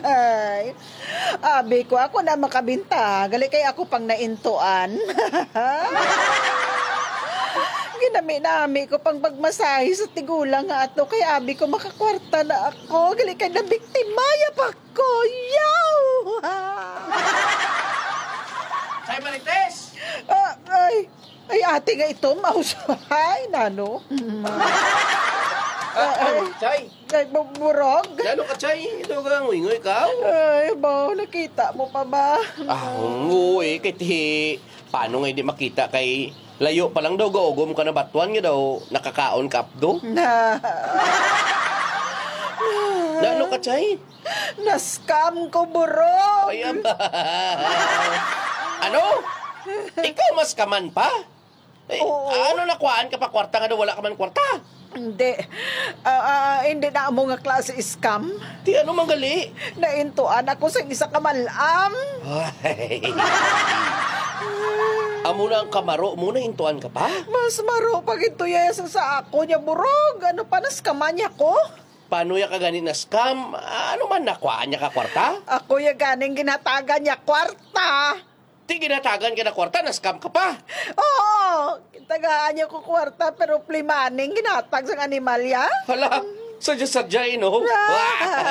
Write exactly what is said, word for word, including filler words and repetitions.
Ay, abi ko, ako na makabinta. Gali kay ako pang naintuan. Ginami-nami ko pang pagmasahe sa tigulang nga ato. Kay abi ko, makakwarta na ako. Gali kay nabiktimaya pa ko. Yaw! Chay Marites! Ah, ay, ay, ate nga ito, maus-, ay, nano? Ah, ay, Chay! Ay, bu-, burog? Nano ka, Chay? Ito ka, nguy-nguy ka? Ay, ba, nakita mo pa ba? Ah, nguy, kay ti-, paano nga hindi makita kay layo pa lang daw gaugom ka na batuan nga daw nakakaon ka, Abdo? Na. Nano ka, Chay? Na-scam ko, burog. Ay, am-, ano? Ikaw mas kaman pa? Eh, Oo. Ano, nakuhaan ka pa kwarta nga daw wala ka man kwarta? Hindi. Ah, ah, hindi na amo nga klase scam. Ti ano man gali? Naintuan ako sa isa ka malam. Ay. Amo na ang kamaro mo, naintuan ka pa? Mas maro pa gid to ya sa, sa ako niya, burog. Ano pa, naskaman niya ko? Paano ya ka gani na scam? Ano man, nakuhaan niya ka kwarta? Ako ya ganing ginhatagan niya kwarta. Ti ginatagan ka na kwarta, na-scam ka pa. Oo, tagaan niya ko kwarta, pero free money ang ginatag sang animal ya. Hala, sadya-sadya, eh, no? Ah.